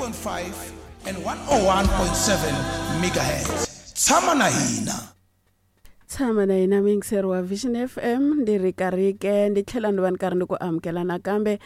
89.5 and 101.7 megahertz. Tshama na hina. Tshama na hina muyingiseri wa Vision FM, ndi ri karhi ke ndi tlhela ndi va ni karhi ndi ku amukela nakambe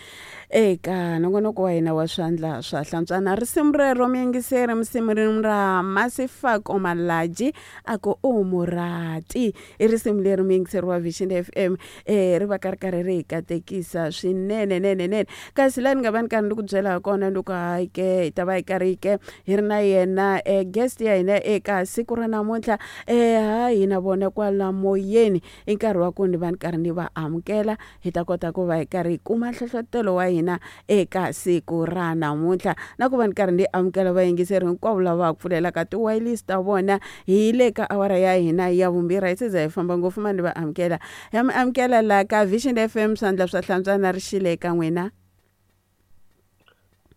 eka nongonoko wa hina wa swandla swa hlantswana. Risimu rero muyingiseri musimu ra Masifako Malaji a ku u murati, i risimu leri muyingiseri wa Vision FM ri va ka ri karhi ri hi katekisa swinene nene nene. Kasi laha ni nga va ni karhi ndi ku byela ha kona ndi ku hayi ke hi ta va hi karhi ke hi ri na yena guest ya hina eka siku ra namuntlha. Ha hina vona kwala moyeni i nkarhi wa ku ni va ni karhi ni va amukela, hi ta kota ku va hi karhi hi kuma nhlohlotelo wa hina eka siku ra namuntlha, na ku va ni karhi ni amukela vayingiseri hinkwavo lava va pfulelaka ti-wireless ta vona hi le ka awara ya hina ya vumbirhi. Hi se za hi famba ngopfu ma ni va amukela, ya mi amukela la ka Vision FM swandla swa hlantswana. Ri xile eka n'wina.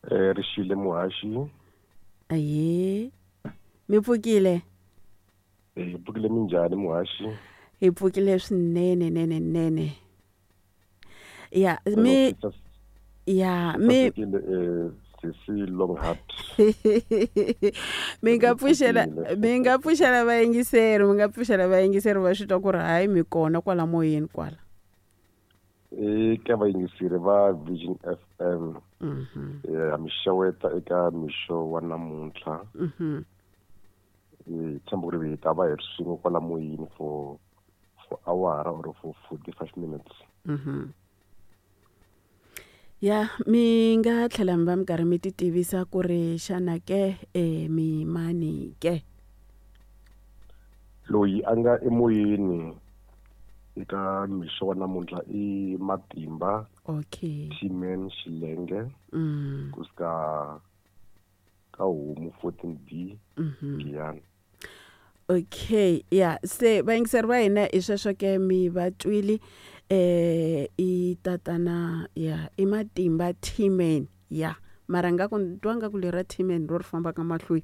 Ri xile muhaxi. Aye, mi pfukile? Hi pfukile. Minjhani muhaxi? Hi pfukile swinene nene nene. Ya mi ya mi sisi Longhart. Mi nga pfuxela, mi nga pfuxela vayingiseri, mi nga pfuxela vayingiseri va swi twa ku ri hayi mi kona kwala moyeni kwala. Eka vayingiseri va Vision FM, ha mi xeweta eka mixo wa namuntlha. Hi tshemba ku ri hi ta va hi ri swin'we kwala moyeni for awara or for 45 minutes. Ya mi nga tlhela mi va mi karhi mi ti tivisa ku ri xana ke mi mani ke? Loyi a nga emoyeni eka mixo wa namuntlha i Matimba. Okay. T-Man Xilenge. Kusuka ka Homu 14B. Giyani. Okay, ya se vayingiseri va hina i sweswo ke mi va twile, i tatana ya i Matimba T-Man ya mara nga ku twa nga ku lera T-Man ro ri fambaka mahlweni.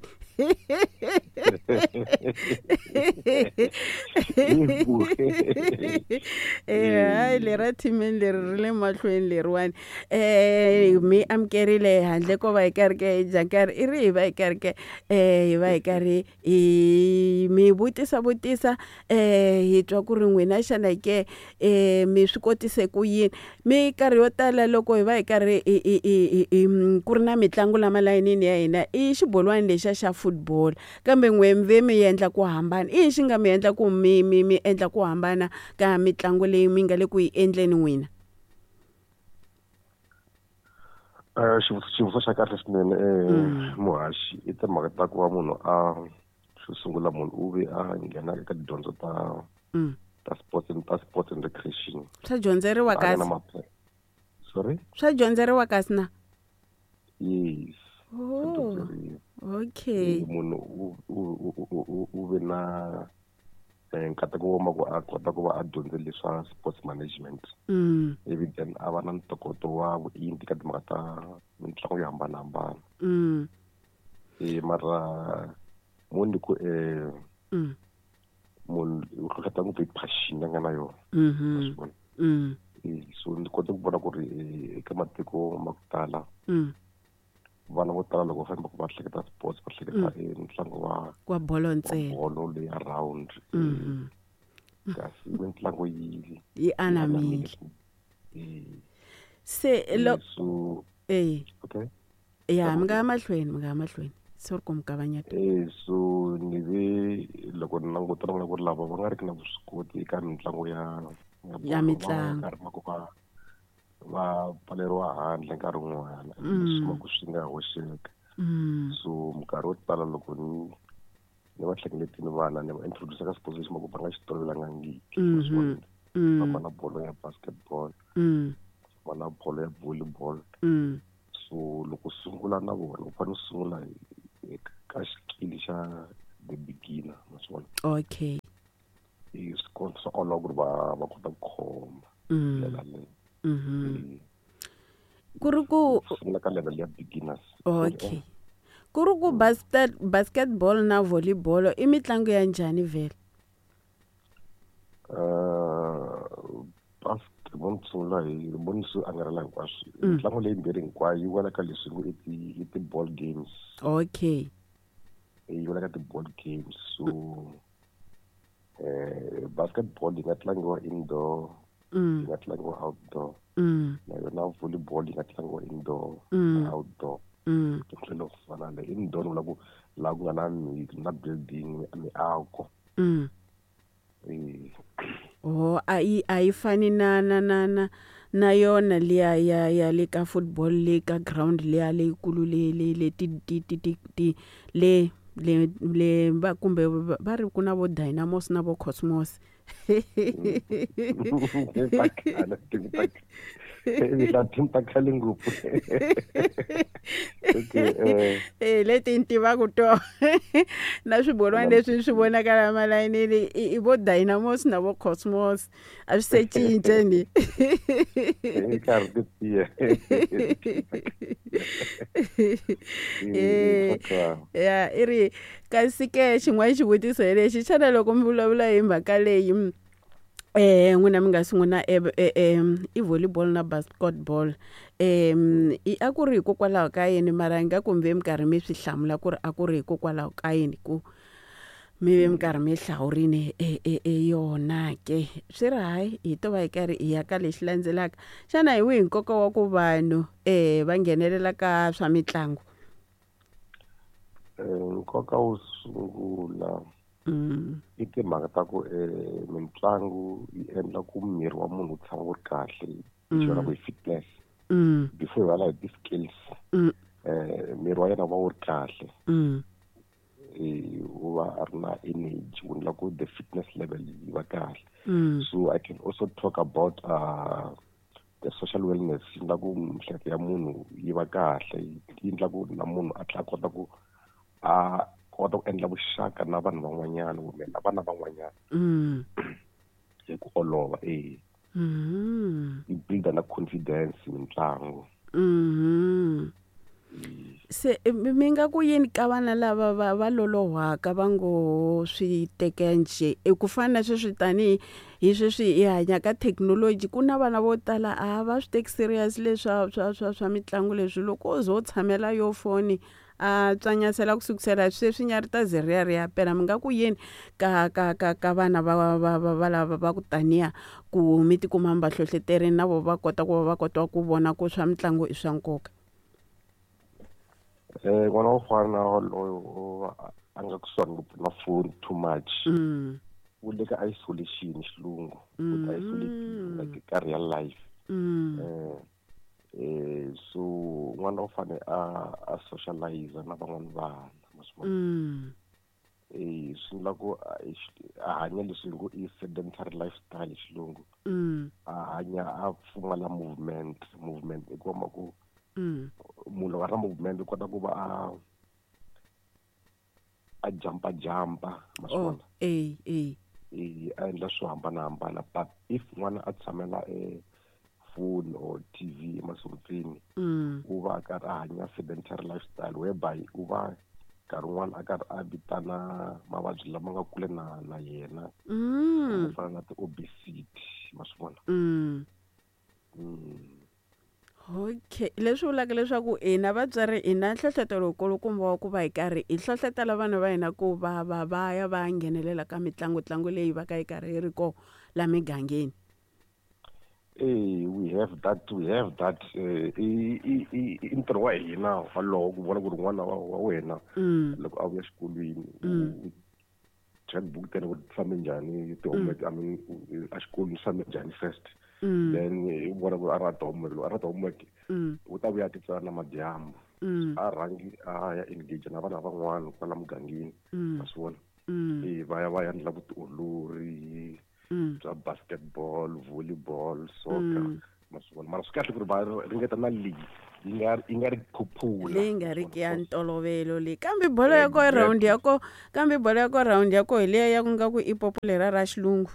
Hayi lera T-Man leri ri le mahlweni leriwani. Mi amukerile handle ko va hi karhi ke hi dya nkarhi, i ri hi va hi karhi ke hi va hi karhi hi mi vutisa vutisa, hi twa ku ri n'wina xana ke mi swi kotise ku yini. Minkarhi yo tala loko hi va hi karhi ku ri na mitlangu la malayinini ya hina i xibolwani lexiya xa football, kambe n'we mi ve mi endla ku hambana. I yini xi nga mi endla ku mi mi mi endla ku hambana ka mitlangu leyi mi nga le ku yi endleni n'wina? Xivutiso xa kahle swinene muhaxi. I timhaka ta ku va munhu a xo sungula munhu u ve a nghena eka tidyondzo ta ta sports and ta sports and recreation. Swa dyondzeriwa kasi? Sorry? Swa dyondzeriwa kasi na? Yes. Oh, okay. Munhu u ve na nkateko wa ku a kota ku va a dyondze leswa sports management. Ivi then a va na ntokoto wa vuenti ka timhaka ta mitlangu yo hambanahambana. Mara mo ni ku munhu u hlohlota ngopfu hi passion a nga na yona. So ni kote ku vona ku ri eka matiko ma ku tala vana vo tala loko va famba va hleketa sports va hleketa ntlangu wa bolo ntsena, bolo leyi ya round. Kasi mitlangu yi anamile. Se so okay, ya mi nga ya mahlweni, mi nga ya mahlweni. Sorry ku mi kavanyeta. So ni ve loko ni languta na vona ku ri lava va nga ri ki na vuswikoti eka mitlangu ya mitlangu va pfaleriwa handle nkarhi wun'wana, leswi ku swi nga hoxeka. So minkarhi wo tala loko ni va hlengeletini vana ni va introduce ka sports lexi ma ku va nga xi tolovelangangiki. Va va na bolo ya basketball, va na bolo ya volleyball. So loko sungula na vona u fanele u sungula ka xikili xa the beginner, ma swi vona. Okay. Swi olova ku ri va kota ku khoma ndlela leyo. Ku ri ku sungula ka level ya beginners. Okay. Ku ri ku basketball na volleyball i mitlangu ya njhani vhele? Mo ni sungula hi mo ni swi angarhela hinkwaswo. Mitlangu leyi mbirhi hinkwayo yi wela ka leswi ngo i ti-ball games. Okay. Yi wela ka ti-ball games. So basketball yi nga tlangiwa indoor, yi nga tlangiwa outdoor. Na yona volleyball yi nga tlangiwa indoor na outdoor. Tlhelo ku fana na indoor ni vula ku laha ku nga na na building, miako. Oh, a yi fani na yona liya ya le ka football, le ka ground liya leyikulu, le ti le va kumbe va ri ku na vo Dynamos na vo Cosmos. Ta khale, team ta khale ngopfu, okay. Leti ni tivaka to na swibolwani leswi swi vonakala malayinini i vo Dynamos na vo Cosmos, a swi se cince ni. I karhi ti tiya. Ya, i ri kasi ke xin'wana xivutiso hi lexi: xana loko mi vulavula hi mhaka leyi, n'wina mi nga sungula i volleyball na basketball, i a ku ri hikokwalaho ka yini? Mara ingaku mi ve mi karhi mi swi hlamula ku ri a ku ri hikokwalaho ka yini ku mi ve mi karhi mi hlawurini e yona ke. Swi ri hayi, hi to va hi karhi hi ya ka lexi landzelaka. Xana hi wihi nkoka wa ku vanhu va nghenelela ka swa mitlangu? Nkoka wo sungula i timhaka ta ku mitlangu yi endla ku miri wa munhu wu tshama wu ri kahle, hi xona ku i fitness. Before hi vulavula hi ti-skills, miri wa yena wu va wu ri kahle, u va a ri na energy, wu endla ku the fitness level yi va kahle. So I can also talk about the social wellness, yi endla ku miehleketo ya munhu yi va kahle, yi endla ku na munhu a tlhela a kota ku endla vuxaka na vanhu van'wanyana kumbe na vana van'wanyana hi ku olova e. Yi builda na confidence mitlangu. Se mi nga ku yini ka vana lava va lolohwaka, va ngo swi teka njhe, i ku fana na sweswi, tanihi hi sweswi hi hanya ka thekinoloji, ku na vana vo tala a va swi teki serious leswa swa mitlangu leswi, loko o ze u tshamela yo foni a tswanyasela ku sukusela sweswi nya ri ta ze ri ya ri ya pela, mi nga ku yini ka vana va lava va ku taniya ku mi tikuma mi va hlohloterini na vo va kota ku va va kota ku vona ku swa mitlangu i swa nkoka? N'wana wo fana na waloyo a nga kusuhani ngopfu na phone too much, u le ka isolation, xilungu u ti isolate like ka real life. So n'wana u fane a socialize na van'wana vana, ma swi vona? Swi endla ku a hanya leswi ngo i sedentary lifestyle hi xilungu, a hanya a pfumala movement. Movement i kuma ku munhu loko a ri na movement u kota ku va a jumpa jumpa, ma swi Oh. vona? Eh eh. A endla swo hambanahambana, but if n'wana a tshamela e phone or TV emasontweni, u va a karhi a hanya sedentary lifestyle, whereby u va nkarhi wun'wana a karhi a vitana mavabyi lama nga kule na yena, ku fana na ti-obesity, ma swi vona? Okay, leswi vulaka leswaku hina vatswari hi na nhlohlotelo wukulukumba wa ku va hi karhi hi hlohlotela vana va hina ku va ya va ya nghenelela ka mitlangu tlangu leyi va ka yi karhi yi ri ko la migangeni. Eh, we have that i ntirho wa hina walowo ku vona ku ri n'wana wa wena loko a vuya exikolweni, u check book tena ku ti fambe njhani ti-homework, I mean, a xikolweni swi fambe njhani first, then i vona ku a ri na ti-homework. Loko a ri na ti-homework, u ta vuya a ti tsala namadyambu. A rhangi a ya engage na vana van'wana kwala mugangeni, ma swi vona? Va ya va ya endla vutiolori bya basketball, volleyball, soccer, ma swi vona? Mara swi kahle ku ri va ringeta na league yi nga ri popular. Leyi nga riki ya ntolovelo leyi, kambe bolo ya ko round ya ko, kambe bolo ya ko round ya ko hi liya ya ku nga ku i popular ra xilungu.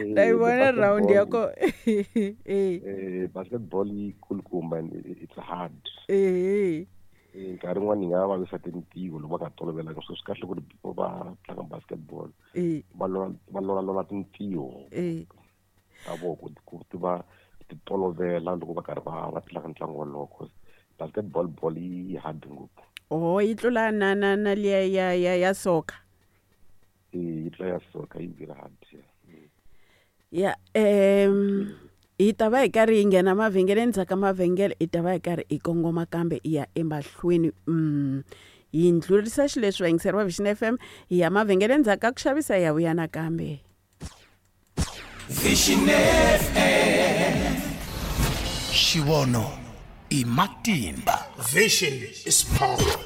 Na yi vona round ya ko Basketball yi kulukumba and it's hard. Nkarhi wun'wani yi nga vavisa tintiho loko va nga tolovelanga, so swi kahle ku ri before va tlanga basketball va lolalola tintiho ta voko ku ti va ti tolovela loko va karhi va tlanga ntlangu wolowo, cause basketball ball yi hard ngopfu. Oh, yi tlula na liya ya soccer? Yi tlula ya soccer, yi very hard. Ya, hi ta va hi karhi hi nghena mavhengeleni, ndzhaku ka mavhengele hi ta va hi karhi hi kongoma kambe hi ya emahlweni. Hi ndlhurisa xileswi, vayingiseri va Vision FM, hi ya mavhengeleni, ndzhaku ka ku xavisa hi ya vuya nakambe. Vision FM, xivono i matimba. Vision is power.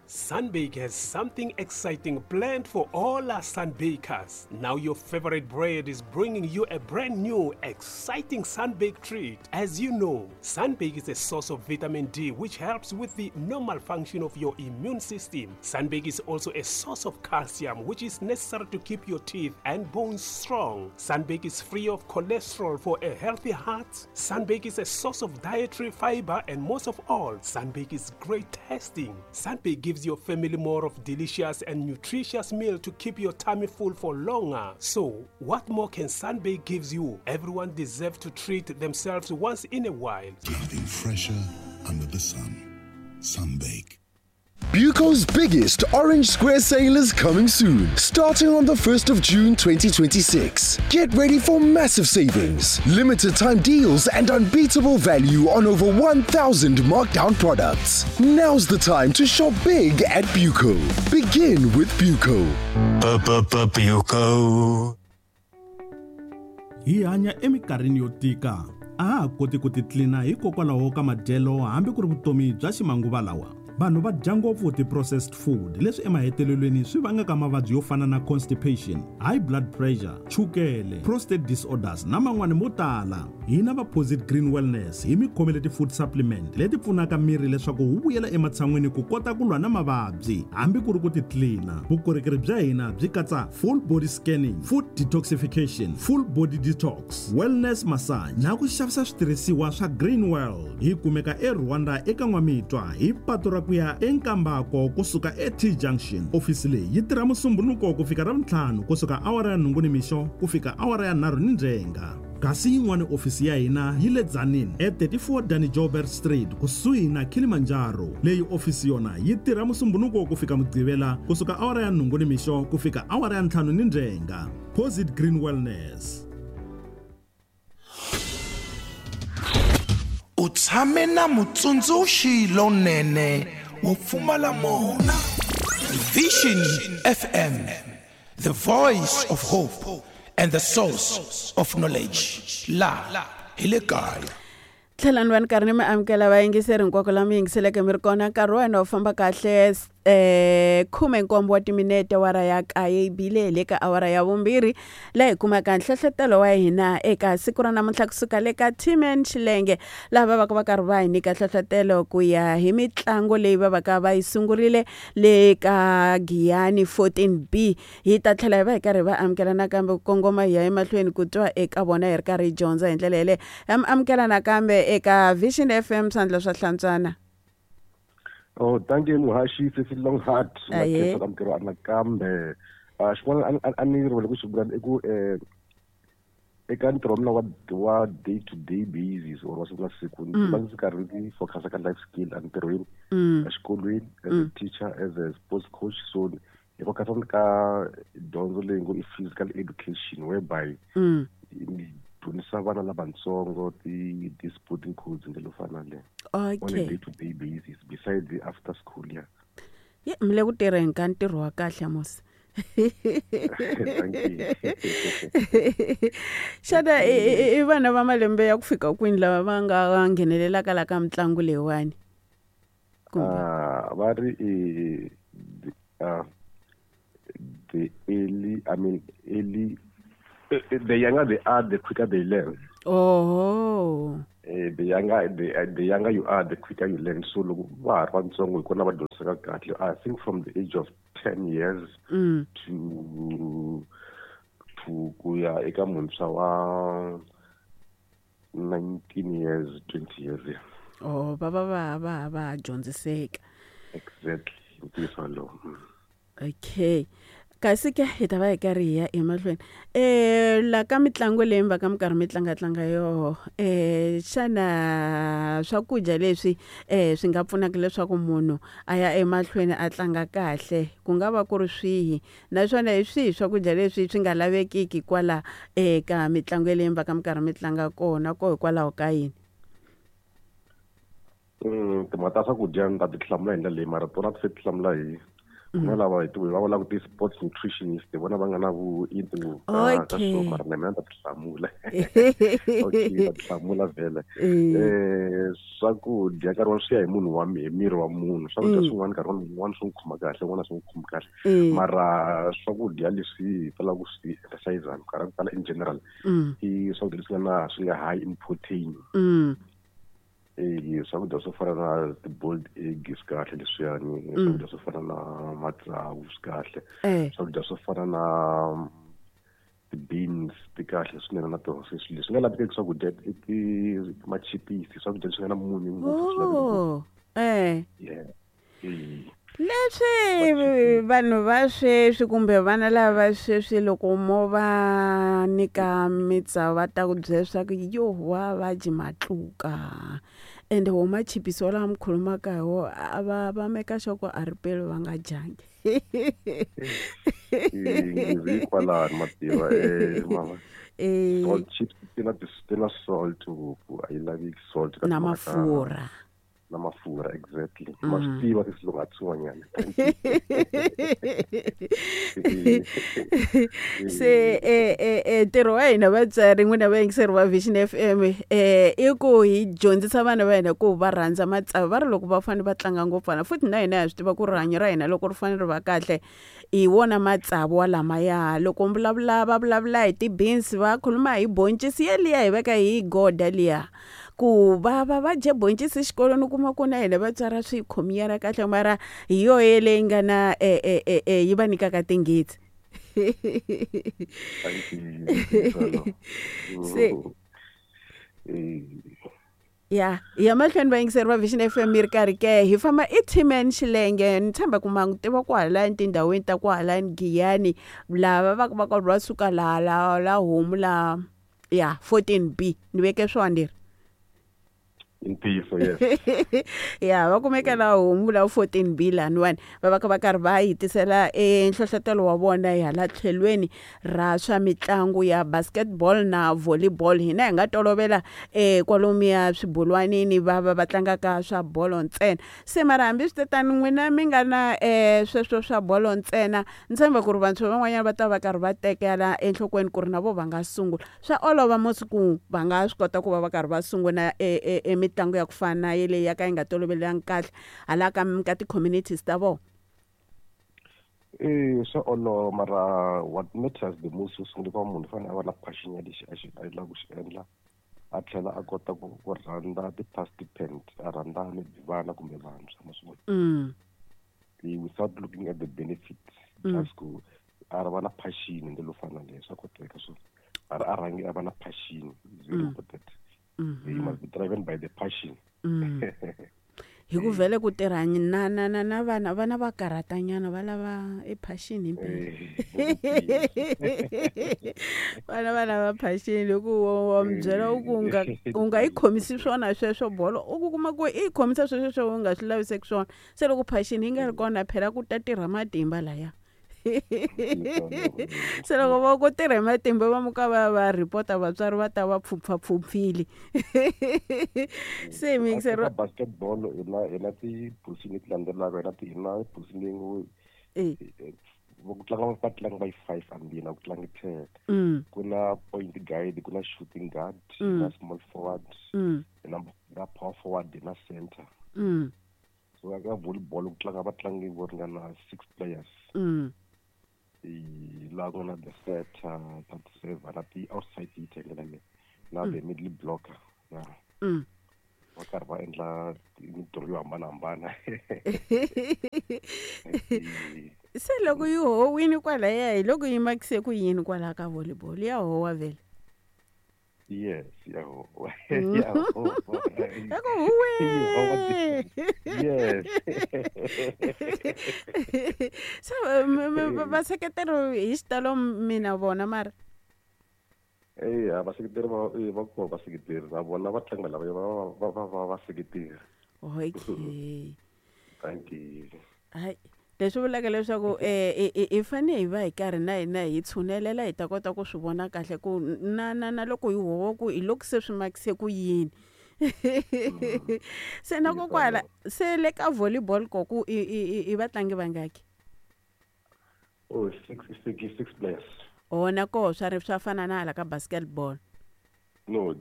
Sunbake has something exciting planned for all our Sunbakers. Now your favorite bread is bringing you a brand new, exciting Sunbake treat. As you know, Sunbake is a source of vitamin D, which helps with the normal function of your immune system. Sunbake is also a source of calcium, which is necessary to keep your teeth and bones strong. Sunbake is free of cholesterol for a healthy heart. Sunbake is a source of dietary fiber, and most of all, Sunbake is great tasting. Sunbake gives your family more of delicious and nutritious meal to keep your tummy full for longer. So, what more can Sunbake gives you? Everyone deserves to treat themselves once in a while. Nothing fresher under the sun. Sunbake. Buco's biggest Orange Square sale is coming soon, starting on the 1st of June 2026. Get ready for massive savings, limited time deals, and unbeatable value on over 1,000 markdown products. Now's the time to shop big at Buco. Begin with Buco. Buco. Hi hanya eminkarhini yo tika, a ha ha koti ku titlina hikokwalaho ka madyelo hambi ku ri vutomi bya ximanguva lawa. Vanhu va dya ngopfu ti-processed food, leswi emahetelelweni swi vangaka mavabyi yo fana na constipation, high blood pressure, chukele, prostate disorders na man'wani mo tala. Hina va Posit Green Wellness hi mi khomele ti-food supplement leti pfunaka miri leswaku wu vuyela ematshan'wini ku kota ku lwa na mavabyi hambi ku ri ku titlina. Vukorhokeri bya hina byi katsa full body scanning, food detoxification, full body detox, wellness massage na ku xavisa switirhisiwa swa Green World. Hi kumeka eRwanda eka N'wamitwa hi patu ra ku ya eNkambako kusuka eT Junction. Ofisi leyi yi tirha Musumbunuko ku fika Ravuntlhanu kusuka awara ya 8 nimixo ku fika awara ya 3 nindzhenga. Kasi yin'wana ofisi ya hina yi le Tzaneen e 34 Danny Joubert Street kusuhi na Kilimanjaro. Leyi ofisi yona yi tirha Musumbunuko ku fika Mugqivela kusuka awara ya 8 nimixo ku fika awara ya 5 nindzhenga. Posit Green Wellness. U tshame na mutsundzuxi lonene wo pfumala mona. Vision FM, the voice of hope and the source of knowledge. La hi le kaya. Tlhela ni va ni karhi ni mi amukela, vayingiseri hinkwako la mi yingiseleke mi ri kona. Nkarhi wa wena wu famba kahle. 17 wa timinete wara ya kaye yi bile, hi le ka awara ya vumbirhi laha hi kumaka nhlohletelo wa hina eka siku ra namuntlha kusuka le ka Tman Xilenge, laha va vaka va karhi va hi nyika nhlohletelo ku ya hi mitlangu leyi va vaka va yi sungurile le ka Giyani 14B. Hi ta tlhela hi va hi karhi va amukela nakambe ku kongoma hi ya emahlweni ku twa eka vona, hi ri karhi hi dyondza hi ndlela yeleyo. Ha mi amukela nakambe eka Vision FM, swandla swa hlantswana. Oh, thank you, muhaxi Sesi Longhart. Aye. Na amukeriwa nakambe. Xin'wana a ni rivele ku xi vula i ku eka ntirho wa mina wa day to day basis or wa siku na siku, ndzi va ndzi karhi ndzi focus ka life skill entirhweni, exikolweni, as a teacher, as a sports coach. So hi focus ka dyondzo leyi ngo i physical education, whereby ni dyondzisa vana lavatsongo ti sporting codes, ndlela yo fana na leyo, on a day to day basis besides the after school, yeah. Ye, mi le ku tirheni ka ntirho wa kahle musi. Thank you. Xana i vana va malembe ya ku fika kwini lava va nga nghenelelaka la ka mitlangu leyiwani? Kumbe Va ri the early, I mean, early, the younger they are, the quicker they learn. Oho. The younger you are, the quicker you learn. So loko va ha ri vatsongo hi kona va dyondzisaka kahle. I think from the age of 10 years to ku ya eka muntshwa wa 19 years, 20 years, yeah. Oh, va va va va va dyondziseka. Exactly, ntiyiso wolowo. Okay, kasi ke hi ta va hi karhi hi ya emahlweni la ka mitlangu leyi mi va ka mi karhi mi tlangatlanga yoho, xana swakudya leswi swi nga pfunaka leswaku munhu a ya emahlweni a tlanga kahle ku nga va ku ri swihi, naswona hi swihi swakudya leswi swi nga lavekiki kwala eka mitlangu yeleyi mi va ka mi karhi mi tlanga kona ko hikwalaho ka yini? Timhaka ta swakudya ni ta ti hlamula hi ndlela leyi, mara tona ti se ti hlamula hi ku na lava hi ti va vulaka ti-sports nutritionist, hi vona va nga na vuenti ngopfu ka swona, mara na mina ni ta ti hlamula. Okay, ni ta ti hlamula vhele. Swakudya nkarhi wun'wani swi ya hi munhu wa hi miri wa munhu. Swakudya swin'wana nkarhi wun'wani swi n'wi khoma kahle, swin'wana a swi n'wi khomi kahle. Mara swakudya leswi hi talaka ku swi emphasize minkarhi ya ku tala in general i swakudya leswi nga na swi nga high in protein. E swakudya swo fana na ti-boiled egg swi kahle leswiyani, swakudya swo fana na matsavu swi kahle, swakudya swo fana na ti-beans ti kahle swinene na tona. Se swilo leswi nga lavekeki swakudya i ti machipisi, swakudya leswi nga na munyu ngopfu swi laveki ngopfu. Yeah. Leswi vanhu va sweswi kumbe vana lava sweswi loko mo va nyika mitsavu va ta ku byela leswaku yo wa va dyi matluka, ende wo machipisi walawa mi khulumaka hi wona a va va meka sure ku a ri peli va nga dyangi. Nghozi kwalano ma tiva, mama. Salt chips ti na ti na salt ngopfu, a yi laveki salt ka na mafurha. Na mafurha, exactly. Ma swi tiva ti swin'wanyana. Se ntirho wa hina vatswari, n'wina vayingiseri va Vision FM, i ku hi dyondzisa vana va hina ku va rhandza matsavu. Va ri loko va fanele va tlanga ngopfu vana, futhi na hina ha swi tiva ku rihanyo ra hina loko ri fanele ri va kahle hi wona matsavu walamaya. Loko vulavula va vulavula hi ti-beans, va khuluma hi boncisi yeliya hi veka hi goda liya, ku va va va dye boncisi exikolweni, u kuma ku na hina vatswari a swi hi khomiyana kahle, mara hi yoho yeleyi nga na yi va nyikaka tinghitsi. Se ya hi ya mahlweni vayingiseri va Vision FM, yi ri karhi ke hi famba i T-Man Xilenge. Ni tshemba ku ma n'wi tiva kwahalani tindhawini ta kwahalani Giyani, lava va va karhi va suka laha la la homu la ya 14B, ni veke swona leri. Ntiyiso, yes. Ya, va kumeka la homu la 14B laniwani, va va va karhi va hi tisela nhlohlotelo wa vona hi hala tlhelweni ra swa mitlangu ya basketball na volleyball. Hina hi nga tolovela kwalomuya swibolwanini va va va tlangaka swa bolo ntsena. Se mara hambi swi te tano, n'wina mi nga na sweswo swa bolo ntsena, ni tshemba ku ri vantshwa van'wanyana va ta va karhi va tekela enhlokweni ku ri na vo va nga sungula. Swa olova mos ku va nga swi kota ku va va karhi va sungula mitlangu ya ku fana na yeleyi ya ka yi nga tolovelekanga kahle hala ka ti-communities ta vona? Swa olova, mara what matters the most, xo sungula ku va munhu u fanele a va na passion ya lexi a xi a lava ku xi endla, a tlhela a kota ku ku rhandza ti-participant, a rhandza maybe vana kumbe vantshwa ma swi vona, without looking at the benefits, just ku a va na passion hi ndlela yo fana na leyo, swa koteka. So a a rhangi a va na passion is very important. You must be driven by the passion. Hi ku vhele ku tirha na na na na vana, vana va karhatanyana, va lava e passion himpela. Vana va lava passion, hi ku wa mi byela u ku u nga yi khomisi swona sweswo bolo, u ku kuma ku i yi khomisa sweswo swo u nga swi laviseki swona. Se loko passion yi nga ri kona, phela ku ta tirha matimba laya. Se loko va ku tirha hi matimba, va muka va va report-a vatswari, va ta va pfhumpfhapfhumpfile. Se miyingiseri ka basketball hi na ti-position leti landzelaka, hi na ti hi na position leyi ngo ku tlanga vatlangi va yi five ambini, a ku tlangi 10. Ku na point guard, ku na shooting guard, na small forward, na power forward, na center. So ka volleyball ku tlanga vatlangi vo ringana 6 players. Laha ku nga na the setter, na the server, na ti-outside hitter hi ndlela leyi, na the middle blocker. Va karhi va endla mintirho yo hambanahambana. Se loko yi howini kwalaya, hi loko yi makise ku yini kwalaya ka volleyball, ya howa vhele? Yes, ya howa. Ya howa. Ya ku huwe. Yes. So vaseketeri hi xitalo mina vona mara? Eya, vaseketeri va kona, vaseketeri na vona vatlangi lava va vaseketeri. Okay. Thank you. Hayi, leswi vulaka leswaku i fanele hi va hi karhi na hina hi tshunelela, hi ta kota ku swi vona kahle ku na loko hi huwa ku hi loko se swi makise ku yini. Se na kokwala se le ka volleyball ko ku i vatlangi vangaki? Oh, six, six, six players. O na koho swa ri swa fana na hala ka basketball? No,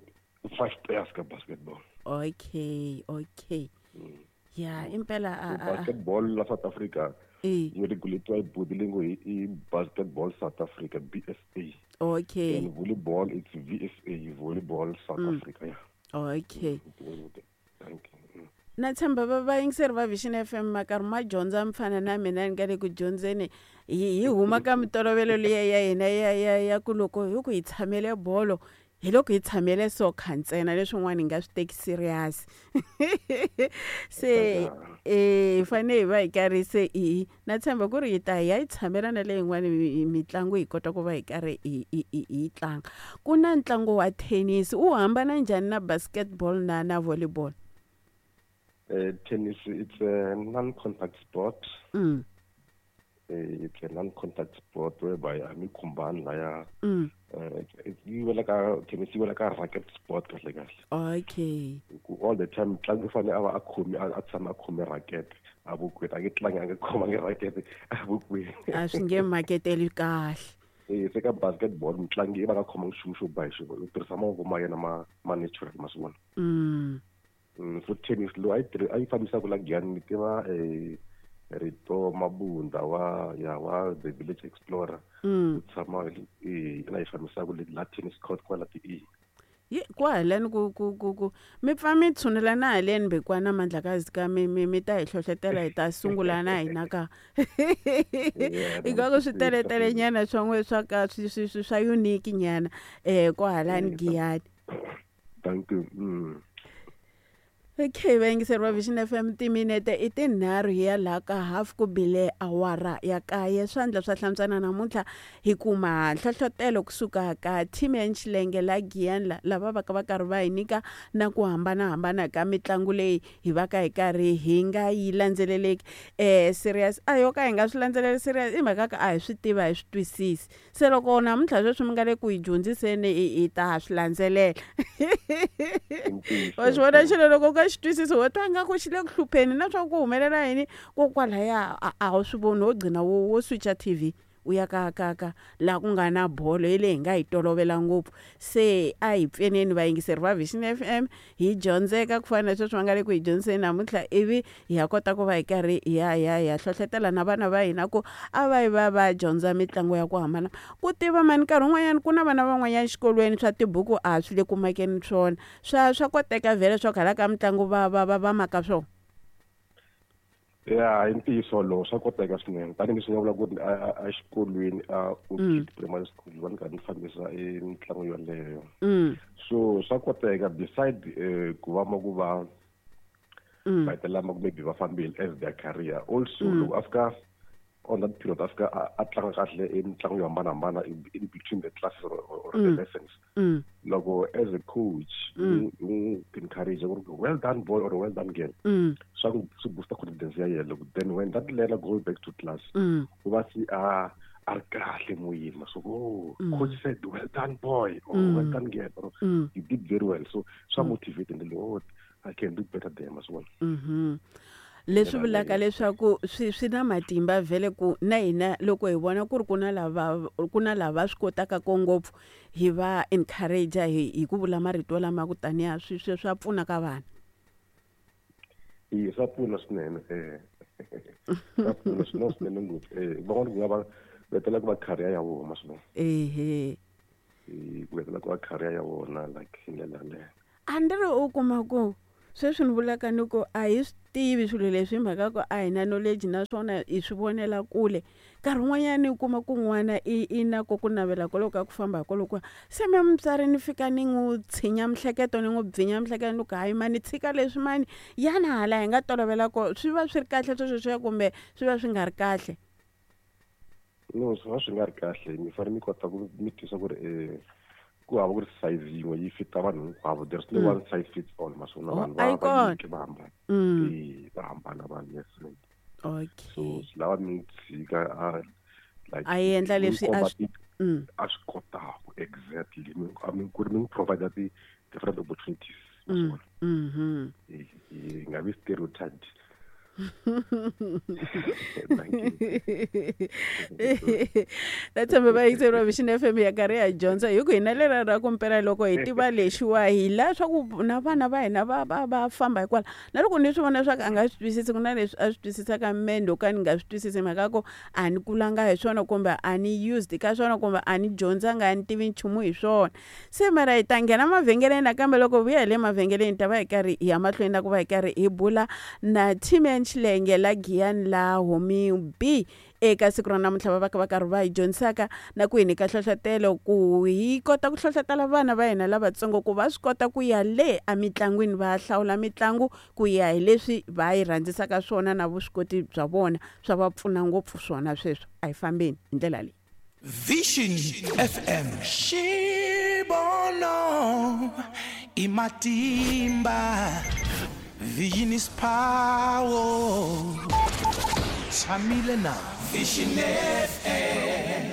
five players ka basketball. Okay. Ya, impela So basketball la South Africa yi regulatiwa hi body leyi ngo i Basketball South Africa, BSA. And volleyball, it's VSA, Volleyball South Africa, yeah. Thank you. Na tshemba va vayingiseri va Vision FM ma karhi ma dyondza mfana na mina ni nga le ku dyondzeni. Hi huma ka mitolovelo liya ya hina ya ku loko hi ku hi tshamele bolo, hi loko hi tshamele soccer ntsena, leswin'wana hi nga swi teki serious. Se hi fanele hi va hi karhi se hi na tshemba ku ri hi ta hi ya yi tshamela na leyin'wani mitlangu, hi kota ku va hi karhi hi tlanga. Ku na ntlangu wa tennis, wu hambana njhani na basketball na volleyball? Tennis, it's a non-contact sport. It's a non-contact sport whereby a mi khumbani laya. Yi wela ka tennis, yi wela ka racket sport kahle kahle. Ku all the time mutlangi u fanele a va a khomi, a tshama a khome racket a vokweni, a nge tlangi a nge khomangi racket a vokweni. A swi nge maketeli kahle. Se ka basketball mutlangi i va nga khomangi nchumu xo ba hi xona, u tirhisa mavoko ma yena ma natural, ma swi vona. So tennis lowu a yi a yi fambisaka la Giyani, ni tiva Rito Mabunda wa ya wa The Village Explorer. U tshama la yi fambisaka le la tennis court kwala ti e. Ye kwahalani ku mi pfa mi tshunela na haleni mbekwana Mandlakazi ka mi ta hi hlohlotela, hi ta sungula na hina ka ingaku swi teletele nyana swa n'we swa ka swi swa unique nyana kwahalani Giyani. Thank you. Okay, vayingiseri va Vision FM, timinete i 3 hi ya laha ka half ku bile awara ya 9. Swandla swa hlantswana namuntlha hi kuma nhlohlotelo kusuka ka team ya Xilenge la Giyani, lava va ka va karhi va hi nyika na ku hambanahambana ka mitlangu leyi hi va ka hi karhi hi nga yi landzeleleki serious. A yo ka hi nga swi landzeleli serious i mhaka ka a hi swi tiva, hi swi twisisi. Se loko namuntlha sweswi mi nga le ku hi dyondziseni, hi ta swi landzelela. Wa xi vona xilo loko u nga xi twisisi, wo twa nga ku xi le ku hlupheni na swa ku humelela yini kokwalaya, a wu swi voni, wo gcina wo switcha TV u ya ka laha ku nga na bolo hi leyi hi nga yi tolovela ngopfu. Se a hi pfuneni vayingiseri va Vision FM hi dyondzeka ku fana na sweswi va nga le ku hi dyondziseni namuntlha, ivi hi ya kota ku va hi karhi hi ya hi ya hi ya hlohlotela na vana va hina ku a va yi va va dyondza mitlangu ya ku hambana. Ku tiva mani, nkarhi wun'wanyana ku na vana van'wanyana xikolweni swa tibuku a swi le ku makeni swona, swa koteka vhele swa ku hala ka mitlangu va maka swona? Ya, i ntiyiso lowu, swa koteka swinene, tanihileswi nga vula ku ri a exikolweni a Orchid Primary School va ni karhi ni fambisa e mitlangu yoleyo. So swa koteka, beside ku va ma ku va va hetelela ma ku maybe va fambile as their career also, loko a fika on that period a fika a tlanga kahle e mitlangu yo hambanahambana in between the classes or the lessons, loko as a coach u n'wi encourage ku ri "Well done, boy" or "Well done, girl," swa ku swi booster confidence ya yena. Loko then when that learner goes back to class, u va se a ri kahle moyeni, so "Oh, coach said well done, boy," or "Well done, girl," or "You did very well." So swa motivate and "Oh, I can do better than as well." Leswi vulaka leswaku swi na matimba vhele ku na hina loko hi vona ku ri ku na lava swi kotaka ko ngopfu, hi va encourage hi ku vula marito lama ku taniya swi swa pfuna ka vana. Iye, swa pfuna swinene, swa pfuna swinene swinene ngopfu. Van'wana ku nga va vetela ku va career ya vona, ma swi vona. Ku vetela ku va career ya vona, like hi ndlela yaleyo. A ni ri u kuma ku Sweswi ni vulaka ni ku a hi swi tivi swilo leswi hi mhaka ku a hi na knowledge naswona hi swi vonela kule. Nkarhi wun'wanyani u kuma ku n'wana i i na ko ku navela koloko ka ku famba hi kolokuya se me mutswari ni fika ni n'wi tshinya mihleketo ni n'wi bvinya mihleketo ni ku hayi mani tshika leswi mani yana hala hi nga tolovela ko swi va swi ri kahle sweswo kumbe swi va swi nga ri kahle. No swi va swi nga ri kahle mi fanele mi kota ku mi twisa ku ri ku hava ku ri size yin'we yi fita vanhu hinkwavo there's no one size fits all maswona Oh, vanhu a yi va va kona. nyike va hambana va hambana vanhu yes ma'am. Okay. So swi lava mi n'wi tshika a like A endla mi n'wi leswi a komba swi a swi kotaka exactly mi a mi ku ri mi n'wi provide ti different opportunities maswona hi nga vi stereotyped. Thank you. Na tshemba vayingiseri va Vision FM ya karhi ya dyondza hi ku hina lera ra ku mpela loko hi tiva lexiwa hi la swa ku na vana va hina va va va famba hikwalaho na loko ni swi vona swa ku a nga swi twisisi ku na leswi a swi twisisaka mendo ka ni nga swi twisisi mhaka ku a ni kulanga hi swona kumbe a ni used ka swona kumbe a ni dyondzanga a ni tivi nchumu hi swona. Se mara hi ta nghena mavhengeleni nakambe loko vuya hi le mavhengeleni hi ta va hi karhi hi ya mahlweni na ku va hi karhi hi bula na T-Man Xilenge la Giyani la Homing B eka siku ra namuntlha va va ka va karhi va hi dyondzisaka na ku hi nyika nhlohlotelo ku hi kota ku hlohlotela vana va hina lavatsongo ku va swi kota ku ya le emitlangwini va hlawula mitlangu ku ya hi leswi va yi rhandzisaka swona na vuswikoti bya vona swa va pfuna ngopfu swona sweswo a hi fambeni hi ndlela leyi. Vision FM Xibono i matimba Vision is power Tshamile na Vision FM.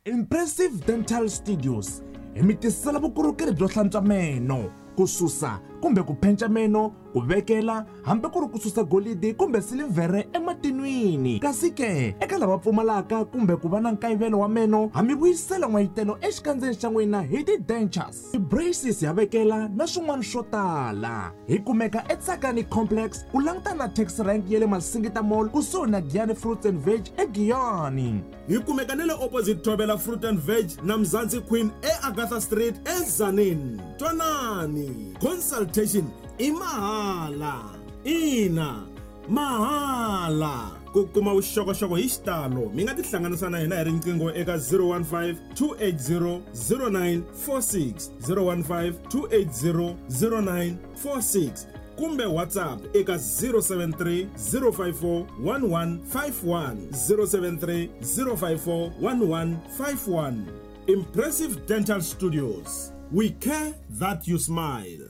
Impressive Dental Studios hi mi tisela vukorhokeri byo hlantswa meno ku susa kumbe ku phenca meno ku vekela hambi ku ri ku susa golidi kumbe silivhere ematinwini kasi ke eka lava pfumalaka kumbe ku va na nkayivelo wa meno ha mi vuyisela n'wayitelo exikandzeni xa n'wina hi ti-dentures ti-braces ya vekela na swin'wana swo tala hi kumeka eTsakani Complex ku langutana na taxi rank ya le Masingita Mall kusuhi na Giyani Fruits and Veg eGiyani. Hi kumeka na le opposite Thobela Fruit and Veg na Mzansi Queen eAgatha Street eTzaneen. Twanani, consultation i mahala. Ina, mahala. Ku kuma vuxokoxoko hi xitalo mi nga tihlanganisa na hina hi riqingho eka 015 280 0946 015 280 0946 kumbe WhatsApp eka 073 054 1151 073 054 1151. Impressive Dental Studios. We care that you smile.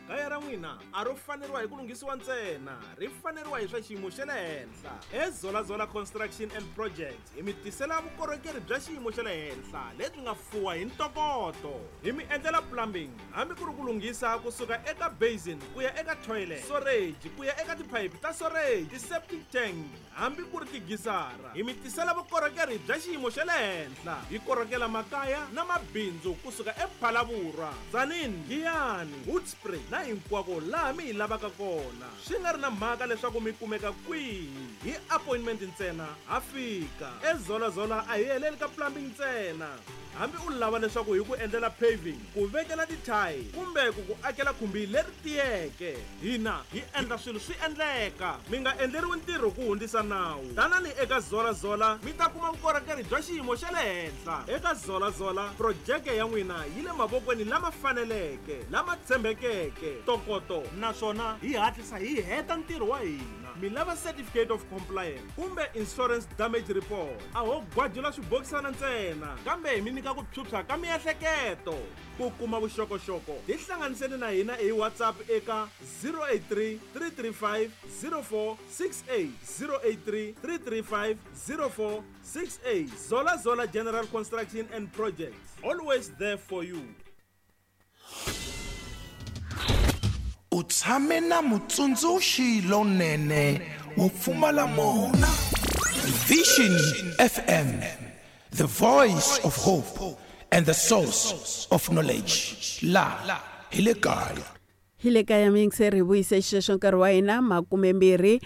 Kaya ra n'wina a ro faneriwa hi ku lunghisiwa ntsena ri faneriwa hi swa xiyimo xa le henhla. eZolazola Construction and Projects hi mi tisela vukorhokeri bya xiyimo xa le henhla lebyi nga fuwa hi ntokoto. Hi mi endlela plumbing hambi ku ri ku lunghisa kusuka eka basin ku ya eka toilet, storage ku ya eka tiphayiphi ta storage, ti-septic tank hambi ku ri tigisara. Hi mi tisela vukorhokeri bya xiyimo xa le henhla. Hi korhokela makaya na mabindzu kusuka ePhalaborwa, Tzaneen, Giyani, Hoedspruit na hinkwako laha mi hi lavaka kona. Swi nga ri na mhaka leswaku mi kumeka kwihi, hi appointment ntsena ha fika. eZolazola a hi heleli ka plumbing ntsena. Hambi u lava leswaku hi ku endlela paving, ku vekela tithayili kumbe ku ku akela khumbi leri tiyeke, hina hi endla swilo swi endleka. Mi nga endleriwi ntirho ku hundzisa nawu. Tanani eka Zolazola mi ta kuma vukorhokeri bya xiyimo xa le henhla. Eka Zolazola projeke ya n'wina yi le mavokweni lama faneleke, lama tshembekeke, ntokoto naswona hi hatlisa hi heta ntirho wa hina. Mi lava certificate of compliance kumbe insurance damage report, a ho gwajula swibokisana ntsena kambe hi mi nyika ku phyuphya ka miehleketo. Ku kuma vuxokoxoko tihlanganiseni na hina hi WhatsApp eka 083 335 0468 083 335 0468. Zolazola General Construction and Projects, always there for you. U tshame na mutsundzuxi lonene wo pfumala mona. Vision FM, the voice of hope and the source of knowledge. La hi le kaya. Hi le kaya miyingiseri hi vuyise xexo nkarhi wa hina 27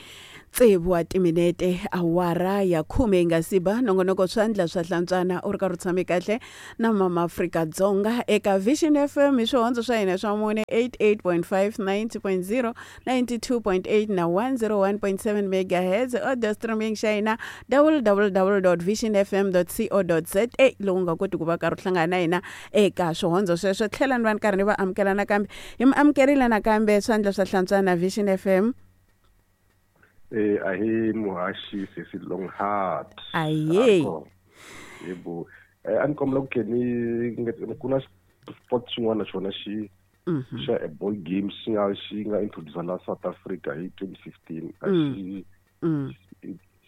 Tsevu wa timinete awara ya khume yi nga si ba nongonoko swandla swa hlantswana u ri karhi u tshame kahle na mama Afrika Dzonga eka Vision FM hi swihondzo swa hina swa mune 88.5 90.0 92.8 na 101.7 megahertz audio streaming xa hina www.visionfm.co.za lowu nga koti ku va karhi u hlangana na hina eka swihondzo sweswo tlhela ni va ni karhi ni va amukela nakambe hi mi amukerile nakambe swandla swa hlantswana Vision FM. Ahe muhaxi sesi Longhart. Aye. Yebo. A ni kombela ku ke ni ku na sport xin'wana xona xi xa a ball game xi nga introduce la South Africa hi 2015 a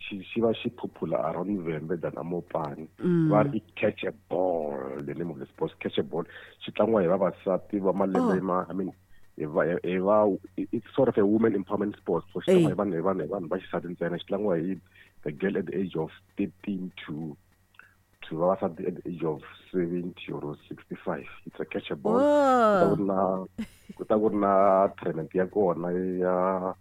xi xi va xi popular around Vhembe than Amopani. Va ri i catch a ball, the name of the sport, catch a ball. Xi tlangiwa hi vavasati va malembe ma, I mean, it's sort of a woman empowerment sport. So xi tlangiwa hi vanhu hi vanhu va xisati ntsena. Xi tlangiwa hi the girl at the age of 13 to vavasati at the age of 70 or 65. It's a catch a ball. Ku ta ku ri na tournament ya kona ya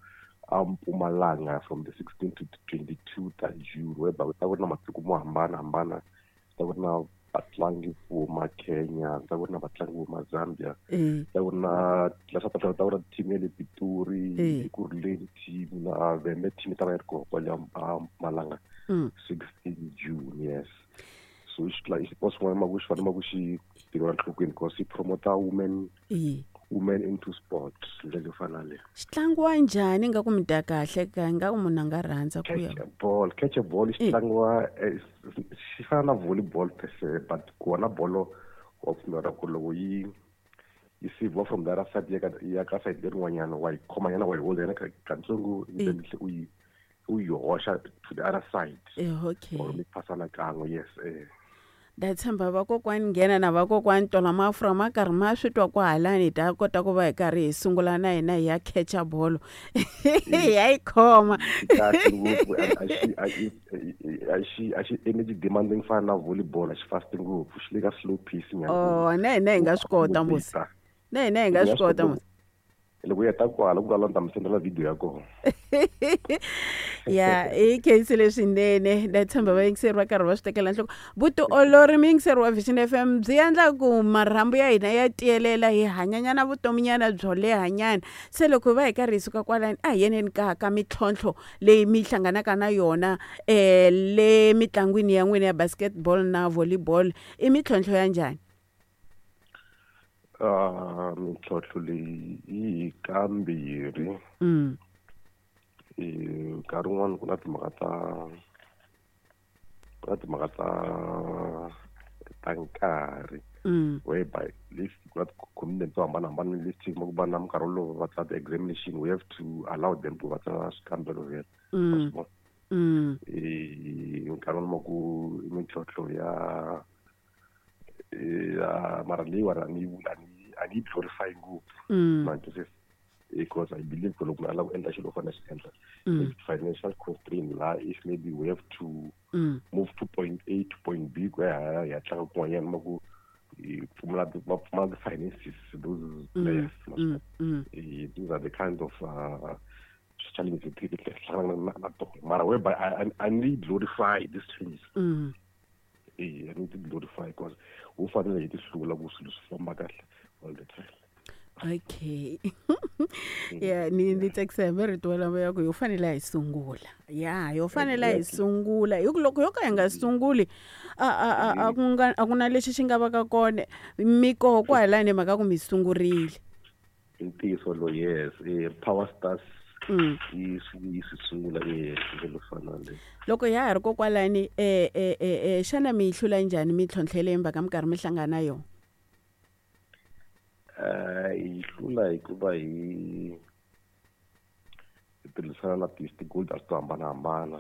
Mpumalanga from the 16 to 22 ta June, whereby ku ta ku ri na matiko mo hambanahambana. Ku ta ku ri na vatlangi vo huma Kenya, ku ta ku ri na vatlangi vo huma Zambia, ku ta ku ri na la South Africa, ku ta ku ri na team ya le Pitori, Ekurhuleni team na Vhembe team ta va yi ri kona kwale Mpumalanga 16 June, yes. So i xiporo xin'wana ma ku xi fanele ma ku xi tekeriwa enhlokweni because xi promota women into sports ndlela yo fana na leyo. Xi tlangiwa njhani nga ku mi dya kahle ka nga ku munhu a nga rhandza ku ya? Catch a ball xi tlangiwa xi fana na volleyball per se, but kona bolo wa pfumela ku loko yi siviwa from the other side ya ka side lerin'wanyana wa yi khomanyana wa yi holder yana katsongo then u yi hoxa to the other side. Okay. Or mi phasana kan'we, yes. Nda tshemba vakokwani nghena na vakokwani tola mafurha ma karhi ma swi twa kwahalani hi ta kota ku va hi karhi hi sungula na hina hi ya catch-a bolo hi ya yi khoma. Kahle ngopfu, a xi energy demanding fana na volleyball, a xi fast ngopfu, xi le ka slow pace nyana. Oh, na hina hi nga swi kota musi. Na hina hi nga swi kota musi. Loko u heta kwala ku vulavula ni ta mi sendela video ya kona. Ya i khensile swinene nda tshemba vayingiseri va karhi va swi tekela nhloko. Vutiolori muyingiseri wa Vision FM byi endla ku marhambu ya hina ya tiyelela hi hanyanyana vutominyana byo lehanyana. Se loko hi va hi karhi hi suka kwalani a hi yeneni ka mintlhontlho leyi mi hlanganaka na yona le mitlangwini ya n'wina ya basketball na volleyball i mintlhontlho ya njhani? Mintlhontlho leyi yi hi kambirhi. Nkarhi wun'wani ku na timhaka ta nkarhi whereby ku na ti-commitment to hambanahambana leti ku va na minkarhi wolowo va tsala ti-examination, we have to allow them ku va tsala swikambelo vhele. Nkarhi wun'wani ma ku mintlhontlho ya mara leyiwani a ni yi glorify ngopfu because I believe ku loko munhu a lava ku endla xilo u fanele a xi endla. Financial constraint la if maybe we have to move to point A to point B ku ya hi ya tlanga kun'wanyana ma ku va pfumala ti-finances those players. Those are the kind of challenges leti hlanganaka na tona mara whereby I need glorify these challenges. I need to glorify because u fanele hi ti hlula ku swilo swi famba kahle all the time. Okay. Yeah, ni tsakisa hi marito walamo ya ku yo fanele hi sungula. Yeah, yo fanele hi sungula. Hi ku loko yo ka hi nga sunguli a ku na lexi xi nga va ka kona mikoho kwalani mhaka ku mi sungurile. Ntiyiso lo, yes, Power Stars yi swi sungula ndlela fana le. Loko ya ha ri kokwalani xana mi yi hlula njhani mintlhontlho leyi mi va ka mi karhi mi hlangana na yona? Hi hlula hikuva hi tirhisana na ti-stakeholders to hambanahambana,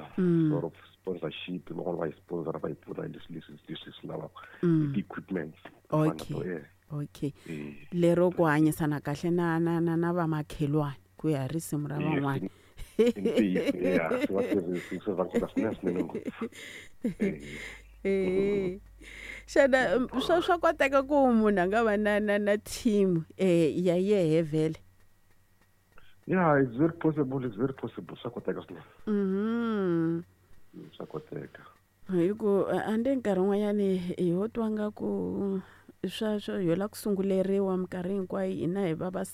sort of sponsorship, van'wana va hi sponsor va hi pfuna hi leswi swi lavaka, ti-equipment. Okay. Okay. Lero ku hanyisana kahle na vamakhelwani ku ya hi risimu ra van'wana. Xana swa koteka ku munhu a nga va na team ya yehe vhele? Yeah, it's very possible, it's very possible. Swa koteka swinene. Swa koteka. Hi ku a ni nkarhi wun'wanyani hi ho twa nga ku sweswo ho la ku sunguleriwa minkarhi hinkwayo hina hi vavasati.